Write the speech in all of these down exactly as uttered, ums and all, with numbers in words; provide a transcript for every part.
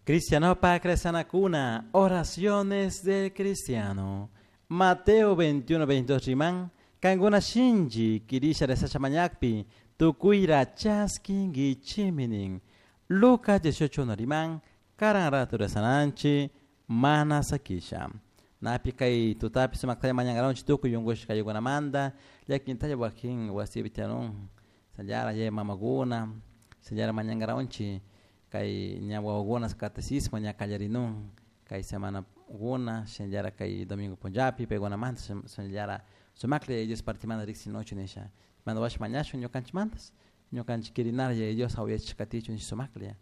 Cristianopak rezanakuna, oraciones del cristiano. Mateo veintiuno, veintidós riman, kankuna shinchi quirisha rezasha mañakpi, tukuira chaskinkichimi nin. Lucas dieciocho uno riman, karan ratu rezananchi, mana sakisha. Napi kay tutapi sumaktalla mañankaronchi tukuy yunkushka kaykunamanta, llakintalla wakin wasipi tiyanun, sallara yaya mamakuna, sallara mañankaronchi, kay ña wawakuna catecismo ña kallarinun, kay semana kuna, shinallara kay domingo punllapi, paykunamanta shinallara sumaklla Yaya Dios partimanta riksinochu nisha. Manda washa mañashun ñukanchikmantas, ñukanchik kirinara Yaya Dios hawayachishka katichun nisha sumaklla.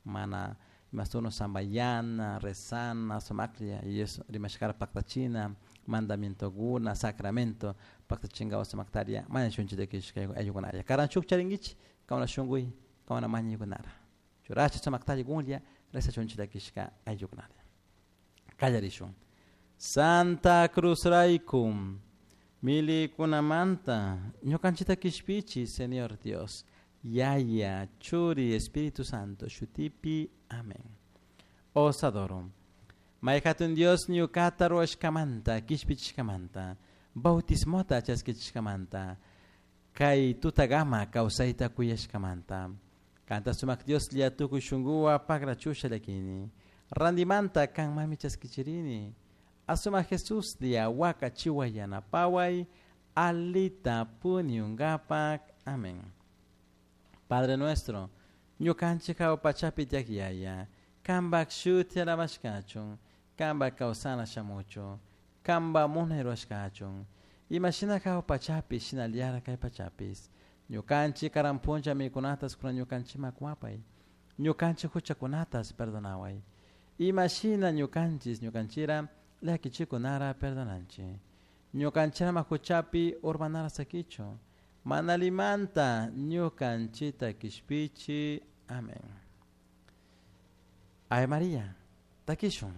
Mana imasuno sambayana, rezana, sumaklla Yaya Dios rimashkara paktachina, mandamientokuna, sacramento, paktachinkawa sumaktaria, mañashunchik takishka ayllukunalla. Karan shuk charinkichik, kawana shunkuy, kawana mañaykunara. Churacha sumaktalla kunlla, rezachunchik takishka ayllukunalla. Kallarishun. Santa Cruz raykum, milikunamanta, ñukanchikta kishpichi, Señor Dios, Yaya, Churi, Espíritu Santo, shutipi, amén. Os adoro. Mayhatun Dios ñukata ruwashkamanta, kishpichishkamanta, bautismota chaskichishkamanta, kay tutagama kawsayta kuyashkamanta. Kanta sumak Dios lla tukuy shunkuwa pakrachusha llakini. Randimanta kan mami chaskichirini. Asuma Jesús lia waka chiwa yanapaway, alita puniungapak. Amén. Padre nuestro, ñukanchik hawa pachapi tiyak yaya, kanpak shuti alabashkachun, kanpak kawsana shamuchun, kanpak munay rurashkachun. Imashina hawa pachapi shinallara kay pachapis. Ñukanchik karan punlla mikunatas kunan ñukanchikman kuwapay. Ñukanchik huchakunatas perdonaway. Imashina ñukanchis ñukanchira llakichikunara perdonanchik. Ñukanchirama huchapi urmanara sakichu. Manalimanta ñukanchita kishpichi. Amén. Ave María, takishun.